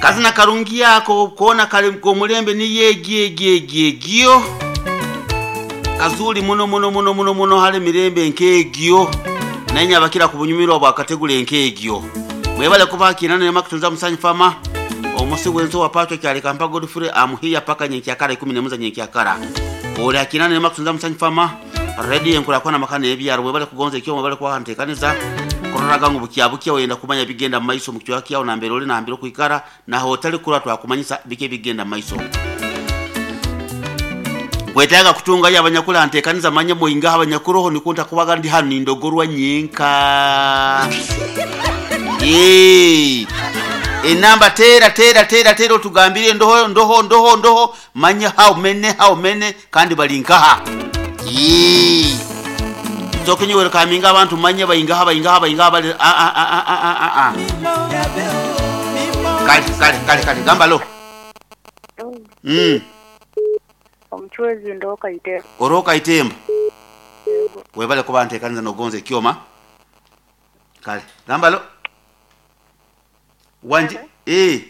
Kazina karungi ako koona kali k'omulembe niyo egyo egyo egyo egyo kazuri muno muno muno muno muno hali emirembe nk'egyo naye nyabakira ku bunyumirwa bwakategula nk'egyo. Mwebale kuba kinana nema kutunza musanyi fama omusi wenso wa pacho kyali kampa Godfrey amuhiya paka nyenkyakara 11 za nyenkyakara. Ole akinana nema kutunza musanyi fama radio enkula kona makana ebyaro mwebale kugonza ekyo mwebale kwa ntekaniza kuroraga ngu bukya wenda kumanya bigenda mu maiso mu kichwa kyao na mbere oli na mbere kuikara na hoteli kura twakumanyisa bike bigenda mu maiso. Kwetaga kutunga ya abanyakula ntekaniza manye moinga abanyakuroho nikunta kubaga ndi hano nindogorwa nyenka. Yee. Enamba tera tera tera tera otugambire ndoho ndoho ndoho ndoho manye how many kandi balinkaha. Yee. Tokinyiwere kaminga abantu manye bayingaha bayingaha bayingaha bali a a a a a a a. Kale kale kale kale gamba lo. Omuchwezi ndoka itemba. Oroka itemba. Webale kuba ntekaniza nogonze kyoma. Kale gamba lo. Wanji eh.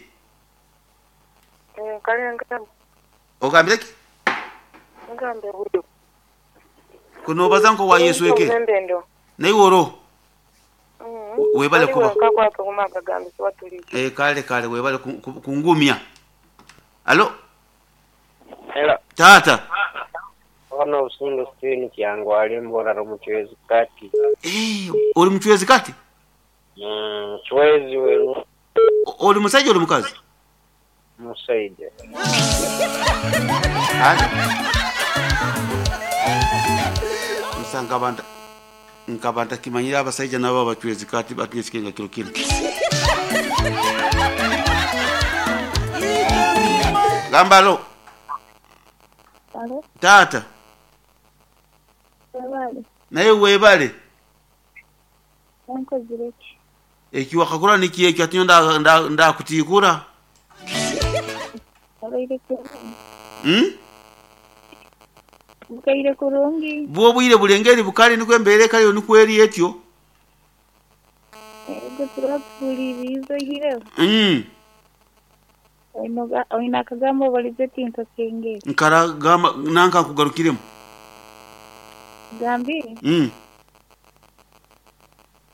Kale ngamba. Ogambire ki? Ngambe budo. Kuno bazanko wa Yesu eke. Naye woro. Webale kuba. Kale kale webale kungumya. Alo. Hello. Tata. Ono usundu stini kyangu ali mbora omuchwezi kati. Oli muchwezi kati? Chwezi weru. Oli musajja oli mukazi? Musajja. Musanga nkabanta kimanyira abasajja nabo abachwezi kati batinye kilo kilo. Gambalo. Alo. Tata. Webale. Naye webale. Nkozireki. Eki wakakura niki eki atinyo nda kutikura. Abaire kurungi. Bukaire kurungi. Bwo bwire bulengeri bukali niko embere kali niko eri etyo. Ego turapulirizo hire. Oina kagambo balizeti nkakenge. Nkara gamba nanka kugarukiremu. Gambi.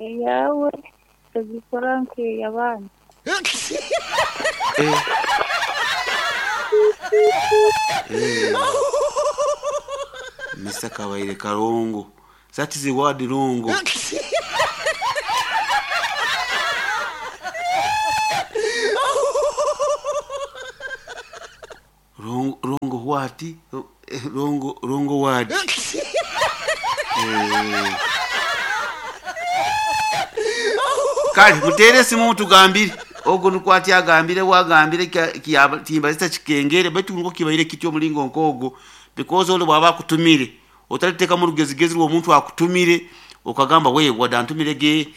Yawe tugikora nke yabana. Mr. Kawaire Karongo. That is the word rongo. Rongo what? Rongo word. Kale mutere simu tugambire ogo nukwati agambire wagambire kimba kikengere betu ngo kibaire kityo mulingo nkogo because ole bwaba akutumire otaliteka mu rugezigezi rwo muntu akutumire okagamba we wadantumire ge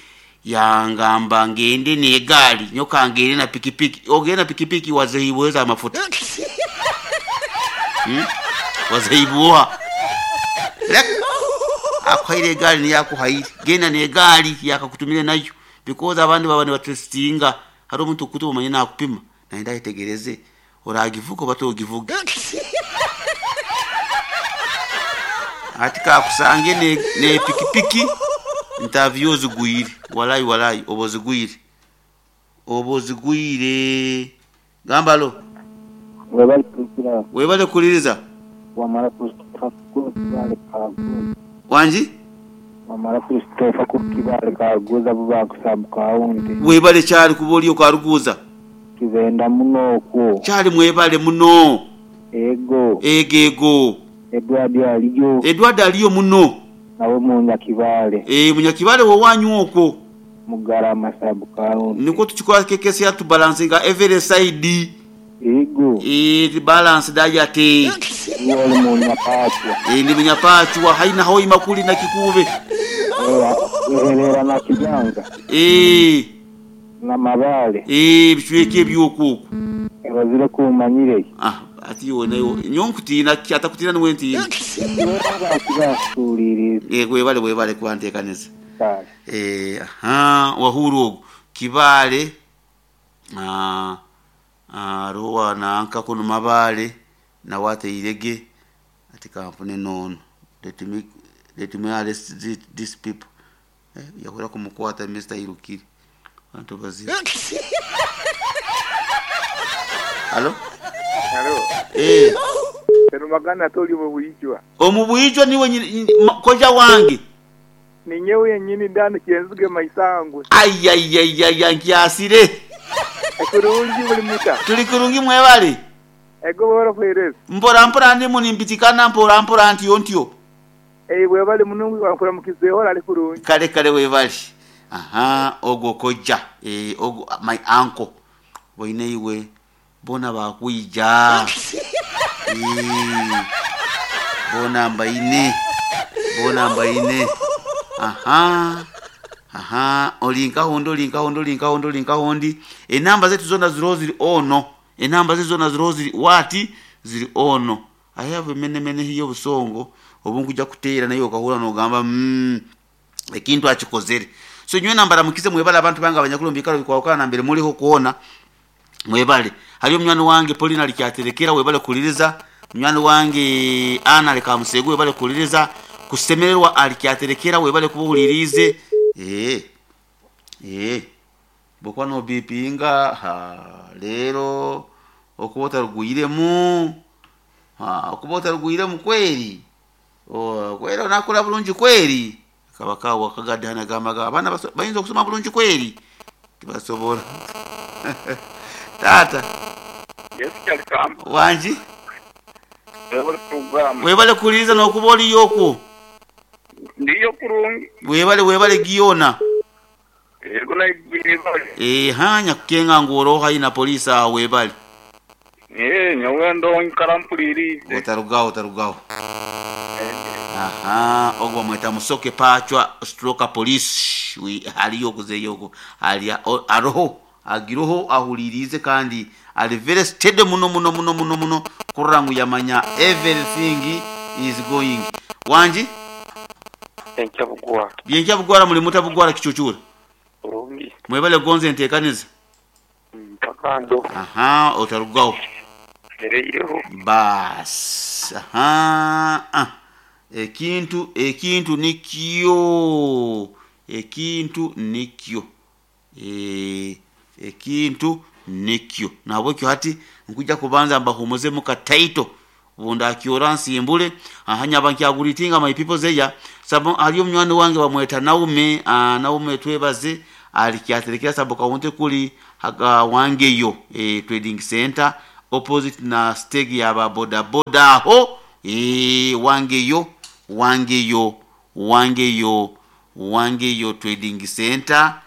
yangamba ngende ne gali nyoka ngende na pikipiki ogenda na pikipiki wazehiweza amafuta. Wazehibuha akwaire gali ni yakuhaire genda ne gali yakakutumire nayo because abandi baba nibatestinga hari omuntu kutu manye nakupima naenda itegereze oragivuga batogivuga ati kakusange ne pikipiki interview zigwire walai walai obozigwire obozigwire gambalo webale kuliriza webale kuliriza wamara Christopher kukibale kaguza wanji wamara Christopher kukibale kaguza buba kusabu kaunti webale kyali kuboli okaruguza kibenda muno okwo kyali mwebale muno ego egego Edward aliyo Edward aliyo muno nawe munyakibale munyakibale wowanyu okwo mugarama sabu kaunti niko tukikola kekesi ya tubalansinga every side ego balance diet wali munyapachwa ndi munyapachwa haina hoi makuli na kikube eherera na kijanga na mabale bishweke ebyokuku bazire kumanyire ati yonayo nyonkutina atakutina niwentina webale webale kubanteekaniza wahuru ogwo kibale Hariho wananka kunu Mabale nawe ateirege ati kampune nono let me arrest these people. Yahura kumukwata Mr. Irukiri bantu bazibu. Halo. Halo. Eh. Serumagana toli mu buyijwa. Omubuyijwa niwe koja wange. Ninyewe yenyini ndani kyenzuge maisangwe. Ayayayaya nkyasire. Kurungi buli muta. Tuli kurungi mwebale. Ego bora kwereza. Mpora mpora ndi munimbitikana mpora mpora ntiyo ntiyo. Eh webale munungu wankura mukizeho ali kurungi. Kale kale webale. Aha ogwo koja ogwo my uncle. Boine iwe bona bakwija. Bona mbaine. Bona mbaine. Aha. Aha, olinka hondi olinka hondi olinka hondi olinka hondi. Enamba zetu zona ziro ziri ono. Enamba zetu zona ziro ziri wati ziri ono. I have mene mene hiyo busongo obunkuja kuteera nayo okahura nogamba ekintu akikozere. So nywe nambara mukize mwebale abantu banga abanyakulu mbikalo bikwawukana na mbere muliho kuona mwebale. Haliyo munywani wange Paulina alikyaterekera webale kuliriza. Munywani wange Ana alikamusegu webale kuliriza. Kusemererwa alikyaterekera webale kubuhulirize. Bokwa no bipinga ha lero okuba otarugwiremu. Ha okuba otarugwiremu kweri. O kweri onakula bulungi kweri. Kabaka wakagadde hana gamba abaana bayinza okusoma bulungi kweri. Tibasobola. Tata. Yes, Kyalikambo. Wanji? Webale program. Webale kuliriza n'okuba oliyo okwo. Ndiyo kurungi. Webale webale giyona. Yego na ibibale. Hanya kukenga ngoro haina polisi awo webale. Nyowe ndo nkarampulirize. Otarugaho otarugaho. Aha, ogwo mweta musoke pachwa stroke police. We haliyo kuzeyoko. Ali aroho agiroho ahulirize kandi ali very steady muno muno muno muno muno kurangu yamanya everything is going. Wanji? Enkya bugwara. Byenkya bugwara muli mutabugwara kichuchura. Kurungi. Mwebale gonze ntekaniza. Mpakando. Aha, otarugaho. Ereyo. Bas. Aha. Ah. Ekintu nikyo. Ekintu nikyo. Ekintu nikyo. Nabwekyo hati nkuja kubanza mbahumuze muka title. Bunda akiora nsimbule. Aha nyabankyaguritinga my people zeya. Sabo aliyo munywani wange bamweta Naume, Naume twebaze alikyaterekera sabo kawunte kuli haga wangeyo trading center opposite na stage ya ba boda boda ho wangeyo wangeyo wangeyo wangeyo trading center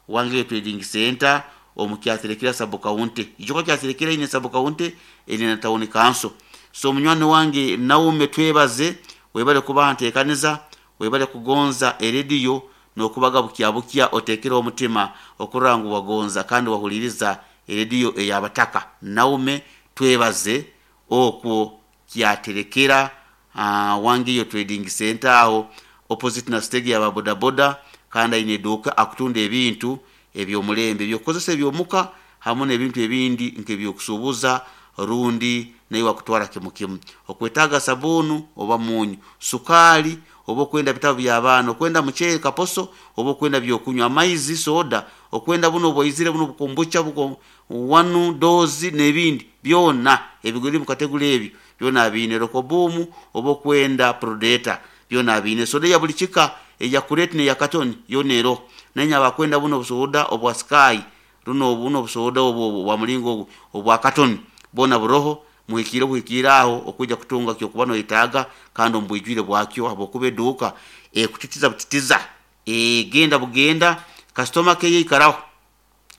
wangeyo trading center omukyaterekera sabo kawunte ijoko kyaterekera ine sabo kawunte ine na town council. So munywani wange Naume twebaze webale kuba ntekaniza webale kugonza erediyo nokubaga bukia bukia otekera omutima okurangu wagonza kandi wahuliriza erediyo eyabataka. Naume twebaze okwo kyaterekera wangeyo trading center aho opposite na stage ya boda boda kandi ine duka akutunda ebintu ebyomulembe ebyokozesa ebyomuka hamwe n'ebintu ebindi nk'ebyokusubuza rundi naye wakutwara kimu kimu okwetaga sabunu oba munyu sukali oba okwenda bitabo by'abaana okwenda muceere kaposo oba okwenda byokunywa amaizi soda okwenda buno obwaizire buno bukombucha buko wanu dozi n'ebindi byona ebiguri mu kategori ebyo byona abiine rokobumu oba okwenda prodeta byona abiine soda ya buli kika eya kureti neya katoni yona ero naye abakwenda buno obusoda obwa sky runo buno obusoda obwo bwa mulingo obwa katoni bona buroho muhikire buhikire aho okuja kutunga kyo kubano itaga kandi ombwijwire bwakyo abokuba eduka kutitiza butitiza genda bugenda customer ke yikaraho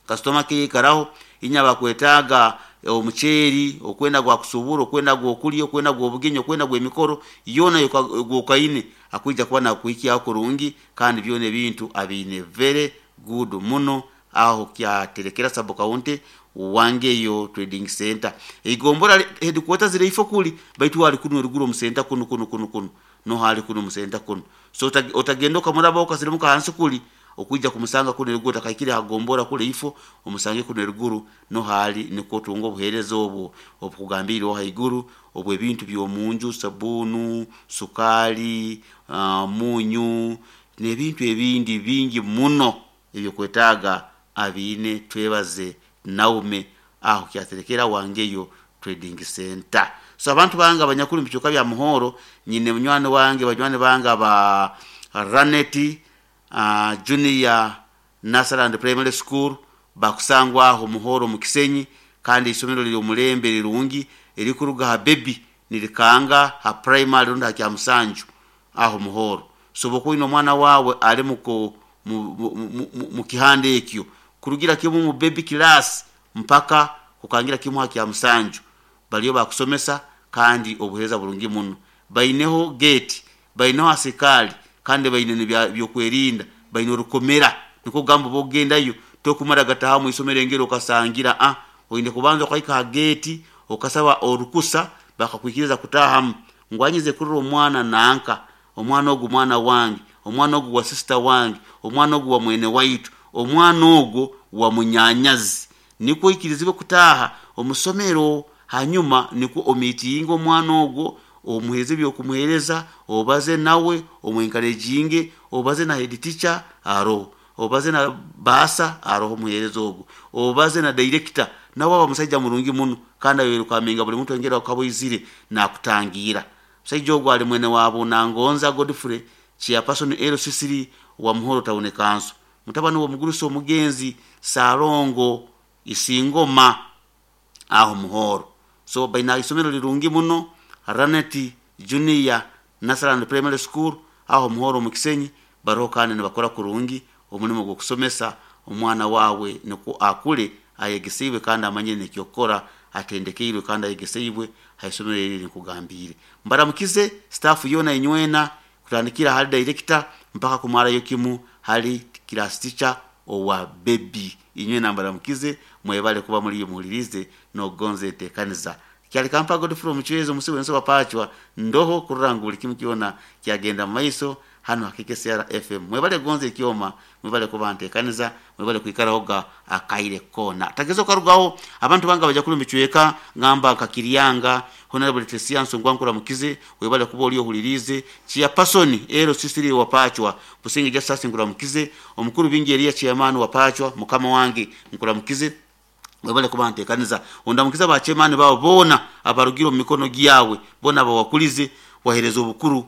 customer ke yikaraho inya bakwetaga omuceeri okwenda gwa kusubura okwenda gwokulya okwenda gwobugenyi okwenda gwemikoro yona gwokaine akuija kuba nakuhikia kurungi kandi byona ebintu abiine very good muno aho kyaterekera sabo county wangeyo trading center igombora headquarters zire ifo kuli baitu wali kuno ruguru mu center kuno kuno kuno kuno no hali kuno mu center kuno so otagenda okamuraba okasirimuka hansi kuli. Okwija kumusanga kunu eruguru takaikire hagombora kule ifo omusange kunu eruguru nohali nikwo otunga obuheereza obwo obukugambire haiguru obw'ebintu by'omunju, sabunu, sukali, munyu n'ebintu ebindi bingi muno ebyokwetaaga abiine. Twebaze Naume aho kyaterekera wangeyo trading center. So abantu bange abanyakuli mubicuka bya Muhoro, nyine munywani wange, banywani bange aba Raneti Junior Nursery and Primary School bakusangwa aho Muhoro mu Kisenyi, kandi isomero liri omulembe rirungi erikuruga ha baby nirikanga ha primary rundi ha Kyamusanju aho Muhoro. So bokuina omwana wawe ali mu kihanda ekyo kurugira kimu mu baby class mpaka kukangira kimu ha Kyamusanju baliyo bakusomesa kandi obuheereza burungi muno. Baineho gate, baineho asikali, kandi baine byokwerinda, baine orukomera nikwo kugamba bogendayo tokumara gataha mu isomero engero okasangira oine kubanza okaika ha gate okasaba orukusa bakakwikiriza kutahamu. Ngwanyize kurora omwana nanka, omwana ogu mwana wange, omwana ogu wa sister wange, omwana ogu wa mwene waitu, omwana ogu wa munyanyazi, nikwo ikirizibwe kutaha omusomero. Hanyuma nikwo omitinga omwana ogwo, omuhereze byokumuhereza, obaze nawe, omwenkarejinge, obaze na head teacher aroho, obaze na basa aroho omuhereza ogwo, obaze na director nawe aba musajja murungi muno kandi ayorukaminga buli muntu engeri akaboizire nakutangira. Musajja ogwo ali mwene wabo Nangonza Godfrey chairperson LCC wa Muhoro Town Council, mutabani wa omugurusi omugenzi Salongo Isingoma aho Muhoro. So baina isomero lirungi muno Raneti Junior Nursery and Primary School aho Muhoro mu Kisenyi, baroho kandi nibakora kurungi omulimo gw'okusomesa omwana wawe nikwo akule ayegeseibwe kandi amanye nekyokukora, atendekeirwe kandi ayegeseibwe haisomero eri nkugambire. Mbaramukize staff yona inywena kutandikira hali director mpaka kumarayo kimu hali class teacher owa baby. Inywena mbaramukize, mwebale kuba muri muhulirize nogonze entekaniza. Kyali kampa Godfrey Omuchwezo omusi wenso wapachwa ndoho kurora buli kimu kyona kyagenda mu maiso hano hakikesera FM. Mwebale gonze ekyoma, mwebale kuba ntekaniza, mwebale kwikarahoga akaire kona. Tagezo karugaho abantu banga baja kuli michweka ngamba kakirianga Honorable Tesia Nsongwa nkuramukize, webale kuba oli ohulirize. Chairperson LCC wapachwa Businge Justice nkuramukize, omukuru bingi Elia chairman wapachwa mukama wange nkuramukize, webale kuba ntekaniza. Ondamukiza ba chairman bao bona abarugiro mu mikono gyawe bona bawakulize wahereza obukuru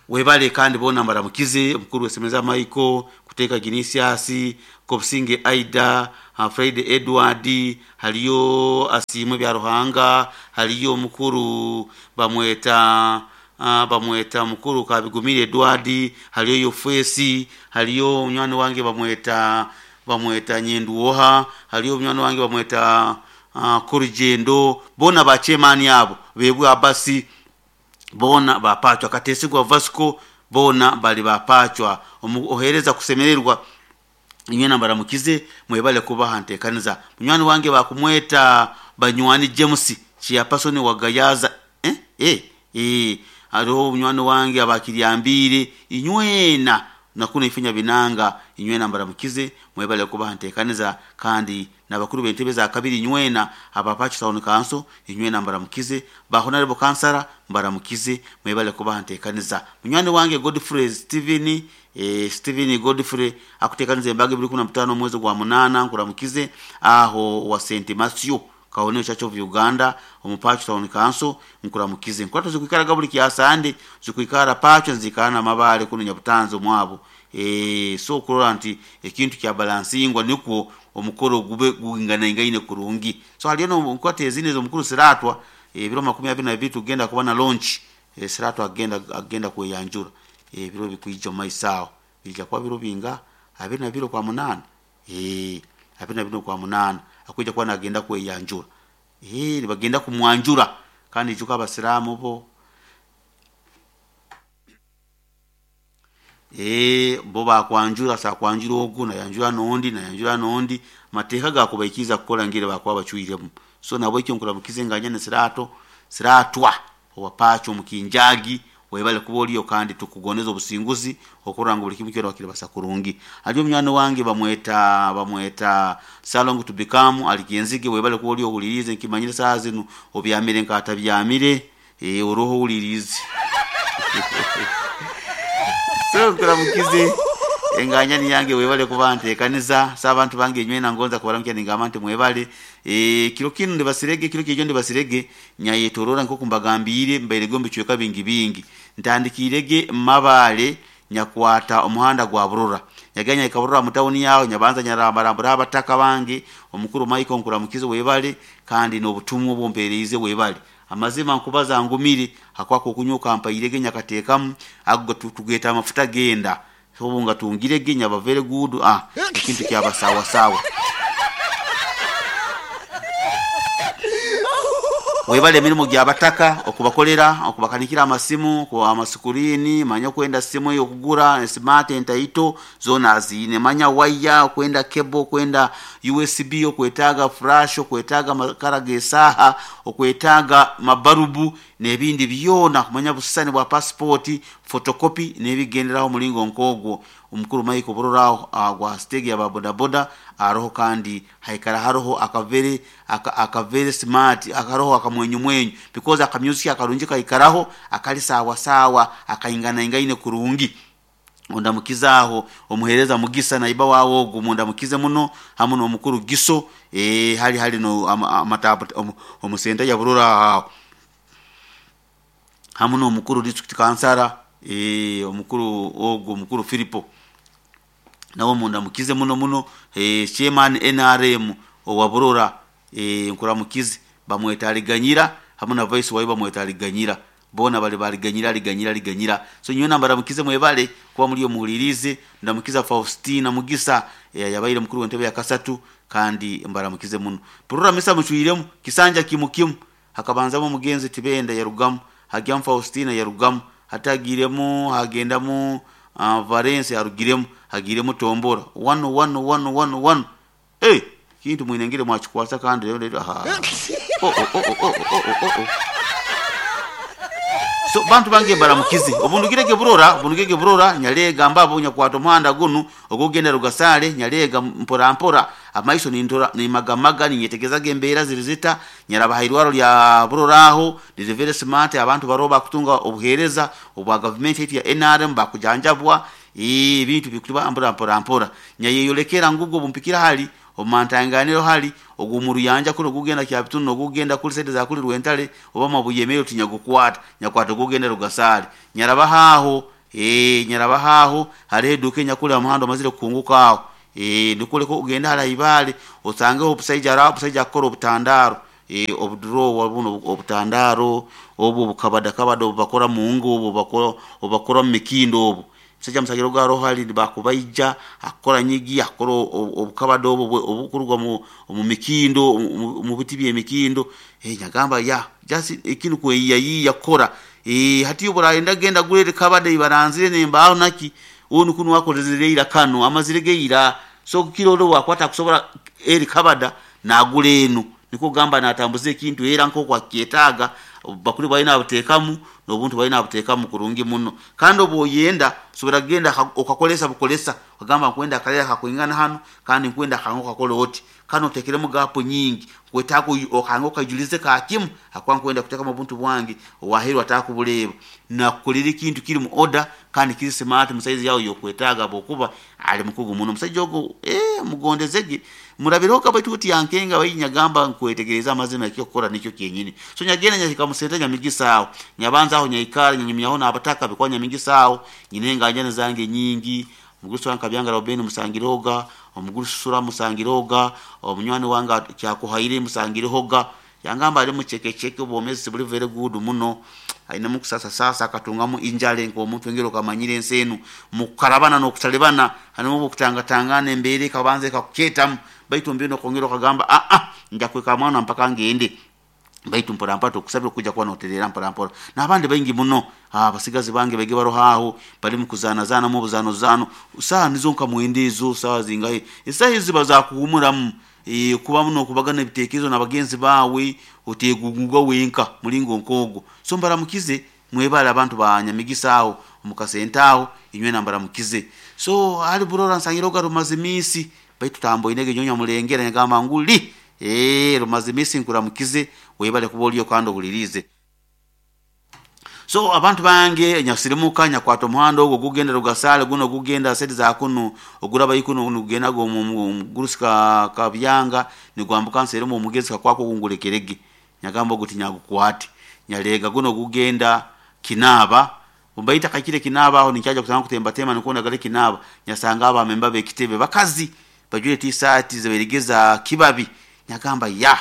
webale kandi bona mbaramukize. Omukuru wesemeza Michael kuteka Ginisiasi Kobusinge Aida Fred Edward haliyo Asimwe bya Ruhanga haliyo omukuru bamweta bamweta mukuru Kabigumire Edward haliyo Yofesi haliyo munywani wange bamweta Nyenduoha haliyo munywani wange bamweta Kurujendo bona ba chairman abo bebwe abasi bona bapachwa Katesigwa Vasco bona bali bapachwa ohereza kusemererwa inywena mbaramukize mwebale kubaha ntekaniza. Munywani wange bakumweta Banywani James chairperson wa Gayaza hariho munywani wange abakiryambire inywena nakuna ifinya binanga inywena mbaramukize mwebale kubaha ntekaniza. Kandi nabakuru b'entebe za kabiri inywena abapachi town council inywena mbaramukize, ba honorable councilor mbaramukize mwebale kubaha ntekaniza. Munywani wange Godfrey Steven Steven Godfrey akutekaniza embaga 2015 mwezi gwa 8 nkuramukize aho wa St Matthew Kaoneo Church of Uganda omupachi town council nkuramukize. Nkwata zikuikara buli kyasande zikuikara pacho nzikana mabale kuno Nyabutanzo mwabo so kurora nti ekintu kya balancingwa nikwo omukoro gube gungana ingaine kurungi. So haliyo no nkwata ezine zo mukuru Siratwa ebiro 22 tugenda kuba na launch. Siratwa agenda kweyanjura ebiro bikuija maisao bija kwa biro binga 22 kwa 8 22 kwa 8 akuja kwa nagenda kweyanjura bagenda kumwanjura. Kandi ijuka abasiramu bo bo bakwanjura sa kwanjura ogu nayanjura nondi nayanjura nondi mateeka gakubaikiza kukola ngire bakwa bachuiremu. So nabo ekyo nkuramukize nganya ne Siratwa owapacho mukinjagi. Webale kuba oliyo kandi tukugondeza obusinguzi okurora ngu buli kimu kyona wakiribasa kurungi. Ali omunywani wange bamweta Salongo to become ali Kyenzige, webale kuba oliyo ohuliriize, nkimanyire saaha zinu obyamire nk'atabyamire, oroho ohuliriize. So nkuramukize enganyani yange, webale kuba ntekaniza. Sa abantu bange inywena ngonza kubaramukya ningamba nti mwebale. Kiro kinu ndibasirege, kiro kijo ndibasirege nyayetorora nkoku mbagambire mbairege omu bicweka bingi bingi. Ntandikirege Mabale nyakwata omuhanda gwa Burora, nyagenda nyahika Burora mu tawuni yaho, nyabanza nyarambarambura abataka bange. Omukuru Michael nkuramukize webale, kandi n'obutumwa obwompereize webale. Amazima nkubaza ngumire hakwaka okunywa okampairege nyakateekamu ago tugeta amafuta genda obu nga tungirege nyaba very good, ekintu kyaba sawa sawa. Webale emirimu gy'abataka okubakolera, okubakanikira amasimu, amasukurini, manya okwenda simu ey'okugura smart entaito zoona aziine, manya waya, okwenda cable, okwenda USB, okwetaaga flash, okwetaaga amakara g'esaaha, okwetaaga mabarubu n'ebindi byona, kumanya busisani bwa passport, photocopy n'ebigenderaho omulingo nk'ogwo. Omukuru Michael Burora aho gwa stage ya bodaboda aroho, kandi haikara haroho akavere akavere smart akaroho akamwenyumwenyu because akamusic akarungi kaikaraho akali sawa sawa akainganaingaine kurungi. Ondamukize aho omuhereza Mugisa naiba wawe ogu mundamukize muno, hamu n'omukuru Giso, hali hali no amatabu omusenta ya Burora aho, hamu n'omukuru district kansara, omukuru ogu omukuru Filipo nawe mundamukize muno muno. Chairman NRM owa Burora, nkuramukize, bamweta Aliganyira, hamu na vice wawe bamweta Aliganyira, boona bali baliganyira aliganyira aliganyira. So nyowe mbaramukize mwebale kuba muri omuhulirize. Ndamukiza Faustina Mugisa, yabaire mukuru w'entebe ya kasatu, kandi mbaramukize muno. Burora misa mucwiremu kisanja kimu kimu, hakabanzamu omugenzi Tibenda yarugamu, hagyamu Faustina yarugamu, hatagiremu hagendamu Valence yarugiremu, hagiremu Tombora wano wano wano wano wano. Kintu mwinengere mwakikwasa kandi rero aha. Oh, oh, oh, oh, oh, oh, oh. So bantu bange mbaramukize obundugirege Burora, obundugirege Burora nyalega mbabo nyakwata omuhanda gunu ogugenda Rugasale, nyalega mpora mpora amaiso nintora nimagamaga ninyetegezaga embeera ziri zita. Nyaraba hairwaro lya Burora aho liri very smart, abantu baroba bakutunga obuhereza obwa government yetu ya NRM bakujanjabwa, ebintu bikuba mpora mpora mpora. Nyayeyolekera ngugo bumpikira hali omumantanganiro hali ogumuru yanja kuno gugenda Kyabitunu ogugenda kuli sente za kuli Rwentale oba Mabuyemero tinyagukwata nyakwata gugenda Rugasale. Nyaraba haho, nyaraba haho hariho eduka enyakuli omuhanda omazire kukunguka aho, nikuleka ogenda hara Ibale osangeho obusaija araho obusaija akukora obutandaro, obudurowa buno obutandaro obu obukabada kabada obubakora mungo obu obubakora mu mikindo obu musajja musajja ogaro hali bakubaija akora nyigi akora obukabada obu obukurugwa mu mikindo mu biti by'emikindo. Nyagamba ya just ekintu kweyiyayiya kukora. Hati oburaenda genda gulere kabada ibaranzire nembaho naki onu kunu wakorezere ira kano amazire geira so kirolo wakwata kusobora eri kabada nagula enu niko gamba natambuze ekintu era nko kwakyetaaga bakuli balina abuteekamu n'obuntu balina abuteekamu kurungi muno. Kandi obwoyenda osobora kugenda okakolesa bukolesa ogamba nkwenda akalera kakwingana hano kandi nkwenda akango kakole oti kano otekeremu gapu nyingi kwetaaga okango okajulize kakimu akuba nkwenda kuteekamu obuntu bwange owaheeru atakubureeba nakukolera ekintu kiri mu order kandi kiri smart mu size yawe yokwetaaga habwokuba ali mukugu muno omusajja ogu, mugondezege murabireho baitu oti yankenga bainyagamba nkwetegereza amazima ekyokukora nikyo kyenyini. So nyagenda nyahika musente nyamigisa aho nyabanza aho nyaikara nyanyumyaho n'abataka bikwa nyamigisa aho nyine enganjani zange nyingi. Omugurusi wange Kabyanga Robeni musangirehoga, omugurusi Sura musangirehoga, omunywani wange Kyakuhaire musangirehoga. Yangamba ali muchekecheke obwomezi buli very good muno, ainemu kusasa sasa akatungamu injale nk'omuntu engeri okamanyire ensi enu mukukarabana n'okutalibana harimu obukutangatangana embeera ekabanza ekakukyetamu baitu mbinu okongera okagamba nja kweka mwana mpaka ngende baitu mpora mpora tukusabira kuja kuba noterera mpora mpora. N'abandi baingi muno abasigazi bange baige baroho aho bali mu kuzanazanamu obuzano zano saaha nizo nka mwenda ezo saaha zingahe esaaha ezi ziba zakuhumuramu, kubamu n'okubagana ebitekerezo n'abagenzi baawe oteguguga wenka mulingo nk'ogwo. So mbaramukize. Mwebale abantu ba Nyamigisa aho omukasente aho, inywena mbaramukize. So hali burora nsangire oga Rumazimisi baitu tamboinege nyonya mulengera, nyagamba nguli Rumazimisi nkuramukize, webale kuba oliyo kandi ohulirize. So abantu bange nyasirimuka nyakwata omuhanda ogwo gugenda Rugasale, guno gugenda sedi za kunu oguraba ikuno nugenda go mugurusi ka Kabyanga nigwambuka nseremo omugezi kakwako gungulekerege, nyagamba ogu tinyagukwate, nyalega guno gugenda Kinaba mbaita kakire Kinaba aho nikyaja kusanga kutembatema nikona gale Kinaba, nyasanga aba memba bekitebe bakazi bajwire t-shirt zeberegeza kibabi, nyagamba ya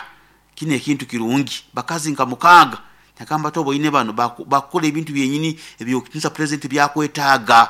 kino ekintu kirungi, bakazi nka mukaga, nyagamba tobo ine bano bakora ebintu byenyini ebyokutinisa president byakwetaaga.